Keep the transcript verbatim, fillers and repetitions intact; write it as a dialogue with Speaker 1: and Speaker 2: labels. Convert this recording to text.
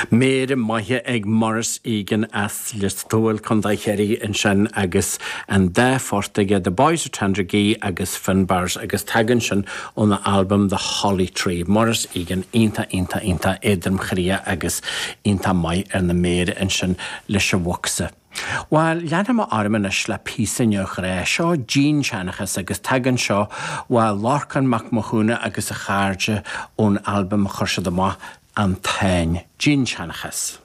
Speaker 1: Méara maithe ag Maurice Egan as Lios Tuathail Contae Chiarraí ansin agus an dá phort aige The Boys of Tandragee agus Finbarrs agus tagann sin óna albam The Holly Tree. Maurice Egan iontach iontach iontach éadromchroíoch agus iontach maith ar na méara ansin leis an bhocsa. Well leanfaidh mé orm anois le píosa neamhghrá seo dinnseanchas agus tagann seo ó Lorcán Mac Mathúna agus a chairde ón albam a chuir siad amach an Táin dinnseanchas.